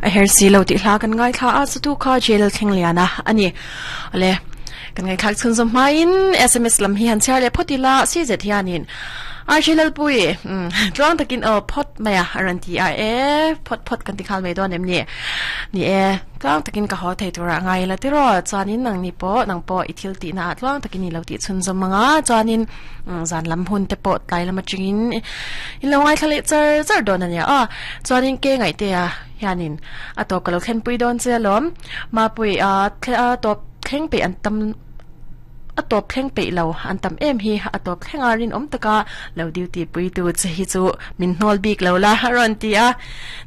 A her si lo tih hla kan ngaithla a, chutu kha jail thleng lian a a ni. Awle, kan ngaihthlak chhunzawm hmain sms lam hi han chhiar leh phawt ila, si zet hianin RJ Lalpui, umm, tluang takin aw phawt mai a, a rawn ti a, e, phawt phawt kan ti nghal mai dawn em ni? Ni e, tluang takin ka haw thei turah ngai ila tiraw, chuanin nangni pawh, nang pawh i thil tihna ah tluang takin i lo tih chhunzawm ang a, chuanin zan lam hun te pawh tlai lam atangin i lo ngaithla leh char char dawn a nia aw. Chuanin ke ngaihtea hianin a tawp ka lo thlenpui dawn che alawm. Mapui a tawp thleng peih an tam a tawp thleng peih lo an tam em hi a tawp thleng a rinawm taka lo duty pui tu che hi chu min hnawl bik lo la a rawn ti a.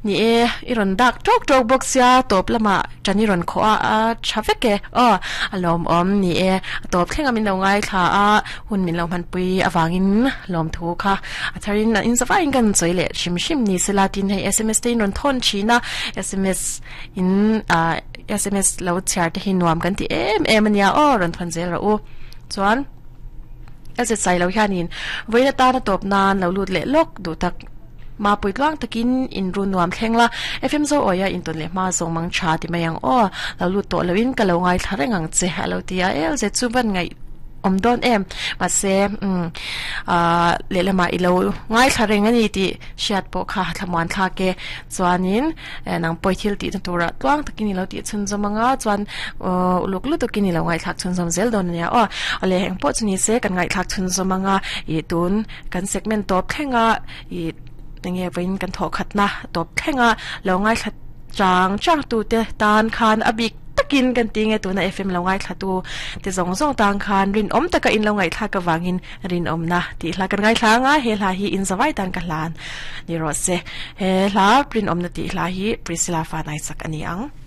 Ni e, i rawn dak tawk tawk bawk sia tawp lamah tan i rawn khawh a a tha vek e aw a lawmawm ni e a tawp thleng a min lo ngaithla a hun min lo hmanpui avangin lawmthu kha A tharin in zavaiin kan sawi leh hrim hrim ni sela tin hei sms te in rawn thawn thin a, sms in ah sms lo chhiar te hi nuam kan ti em em ania aw rawn thawn zel rawh u. Chuan a zet sai lo hianin vawiin atana tawp nan lo lut leh lawk duh tak mapui tluang takin in run nuam thleng la, FM zo awia intawn leh hma zawng mang tha ti mai ang aw, lo lut tawh loin ka lo ngaithla reng ang che a lo ti a, LZ chu van ngaih awm dawn em mahse umm ahh lehlamah i lo ngaithla reng a ni tih hriat pawh kha thlamuan thlak e chuanin nang pawh i thil tihna turah tluang takin i lo tih chhunzawm ang a chuan uhh uluk lutukin i lo ngaihthlak chhunzawm zel dawn a nia aw awle eng pawh chu ni se kan ngaihthlak chhunzawm ang a ih tun kan segment tawp thleng a ih enge vawiin kan thawh khatna tawp thleng a lo ngaithla chang chang tute tan khan a bik takin kan ti nge tuna FM lo ngaithla tu te zawng zawng tang khan rinawm taka in lo ngaihthlak avangin rinawmna tih hla kan ngaithla anga he hla hi in zavai tan ka hlan ni rawh se he hla rinawmna tih hla hi Priscilla Fanai sak a ni ang.